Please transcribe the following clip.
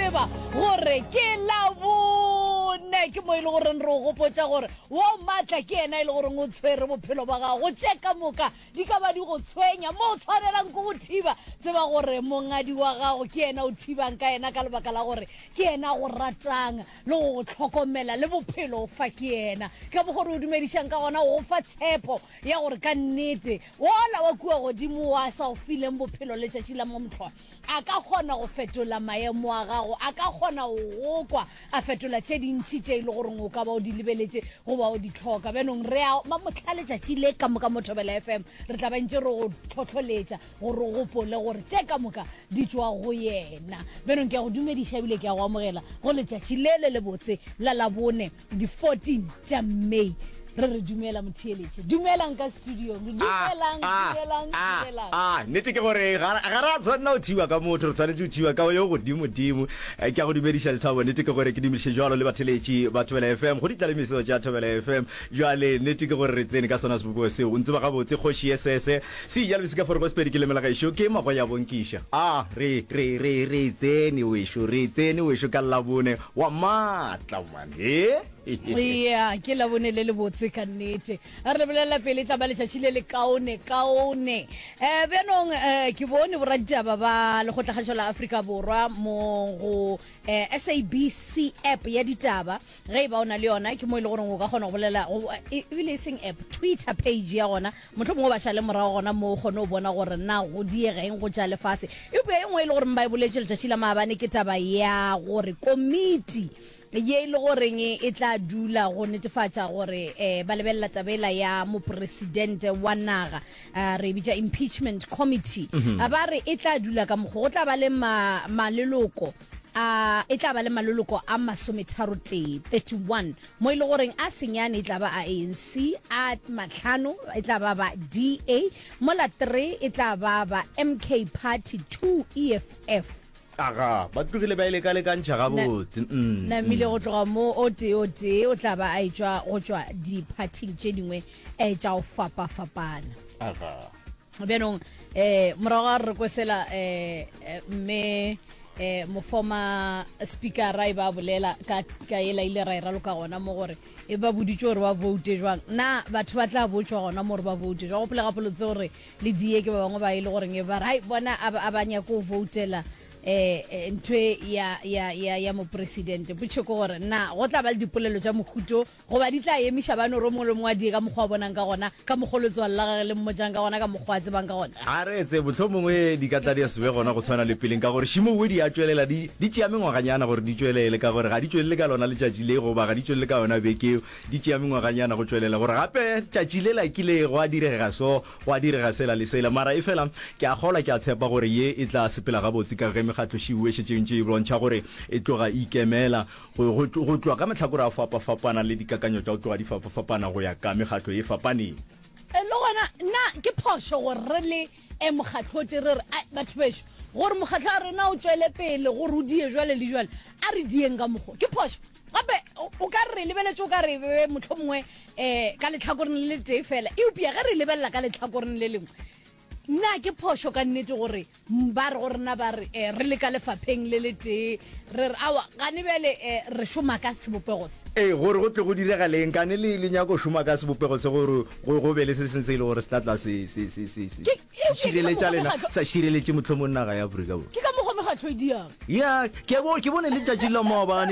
tseba gore ke Labone. Ke mo e le goreng re o gopotša gore wo maatla ke yena e le goreng o tshwere bophelo ba gago. Tše ka moka di ka ba di go tshwenya mo o tshwanelang ke go thiba. Tseba gore mongadi wa gago ke yena o thibang ka yena ka lebaka la gore ke yena a go ratang le go go hlokomela le bophelo o fa ke yena. Ka mokgo re o dumedišang ka gona o go fa tshepo ya gore ka nnete wola wa kua godimo wa sa o fileng bophelo letšatši la momhlwa a ka kgona go fetola maemo a gago, a ka kgona go go kwa, a fetola tše dintši tše e le goreng o ka ba o di lebeletše goba o di hloka. Bjanong re a ba mohla letšatši le ka moka mo Thobela FM re tla ba ntše re go hlohloletša gore o gopole gore tše ka moka di tšwa go yena. Bjanong ke a go dumediša ebile ke a go amogela go letšatši le le lebotse la Labone di 14 tša May. Re re dumela motheeletše. Dumelang ka studiong. Dumelang, dumelang, dumelang. A, nnete ke gore ga ga ra tshwanela go thiwa ka motho, re tshwanetse go thiwa ka yo godimo-dimo. Eh, Ke a go dumediša Lethabo, nnete ke gore ke dumediše jwalo le batheletši ba Thobela FM, go ditlalemiso tša Thobela FM. Jwale nnete ke gore re tsene ka sona sebopego seo. O ntseba gabotse kgoši SS. Se ja lebese ka forogo Sepedi ke leme la gešo ke magoya bonkiša. A, re, re, re, re tsene wešo, re tsene wešo ka Labone wa maatla man. He? Ya, ke Labone le lebotse ka nnete. A re le bolelela pele e tla ba letšatši le le kaone kaone. Um bjanong um ke bone boraditaba ba Lekgotlakgašo la Afrika Borwa mo go um SABC app ya ditaba ge e ba o na le yona ke mo e le goreng o ka kgona go bolela ebile e seng app Twitter page ya gona mohlomongwe ba šale morago gona mo o kgone go bona gore na go diega eng go tša lefase. Eupša e nngwe e le goreng ba e boletše letšatši la maabane ke taba ya gore komiti ye e le goreng e tla dula go netefatša gore um ba lebelela tabela ya mopresidente wa naga uh, re e bitša impeachment committee mm -hmm. ba re e tla dula ka mokgo go tla ba le ma, maleloko a e tla ba le maleloko a masometharotee 31 mo e le goreng a senyane e tla ba a ANC a matlhano e tla ba ba DA mola 3 e tla ba ba MK Party 2 EFF Aga, ba tlogile ba e lekalekantšha gabotse. Mm, Namile go tloga mo o tee o tee o tla ba a etšwa go tšwa diphathing tše dingwe eh, tša go fapafapana. Aga. Bjanong eh morago ga re kwesela eh eh, mme eh mofoma speakera e ba bolela ka ka ela ile ra e raloka gona mo gore e ba boditše gore ba voute jwang na batho ba tla botšwa gona mo gore ba voute jwang gopola gapolotse gore le die ke ba bangwe ba e le goreng e ba re hai bona a ba a nyake go voutela eh ntho e ya ya ya ya mopresidente potšo ke gore na go tla ba le dipolelo tša mohuto goba di tla emiša ba no re mongwe le mongwe a die ka mokgwa a bonang ka gona ka mokgwa letswalo la gage le mmotšang ka gona ka mokgwa a tsebang ka gona A re tse mohlomongwe di ka tla di se be gona go tshwana le peleng ka gore šimowe di a tšwelela di di tšea mengwaganyana gore di tšwelele ka gore ga di tšwelele ka lona letšatši le goba ga di tšwelele ka yona beke eo di tšea mengwaganyana go tšwelela gore gape tšatši lela kile gwa direga so Gwa direga sela le sela. Mara efela, ke a kgolwa, ke a tshepa gore ye e tla sepela gabotse ka ge mekgatlošiu e šetše e ntše e bontšha gore e tloga e ikemela go, go, go tloga ka mahlakore a fapafapana le dikakanyo tša go tloga di fapafapana go ya ka mekgatlo ye fapaneng. Le gona, na ke phošo gore re le e mokgatlo o tee re re, Ai, batho bešo, gore mokgatlo wa rena o tšwele pele, gore o die jwale le jwale, a re dieng ka mokgo? Ke phošo? Gape o ka re re lebeletše o ka re be mohlomongwe um ka letlhakoreng le letee fela, eupša ge re lebelela ka letlhakoreng le lengwe, na ke phošo ka nnete gore ba re go rena ba re um re le ka lefapheng le letee re re aowa gane bjale um re šoma ka sebopego se? Ee, gore go tle go diregaleng kane le le nyako šoma ka sebopego se gore go go be le se seng se e le gore se tla tla se se se se se Ke eupša ke ka šireletša mokgwa lena mekgatlo sa šireletše mohlomong naga ya Afrika Borwa. ke ka mokgwa mekgatlo e diang. Ya, ke bo ke bone letšatši la maabane.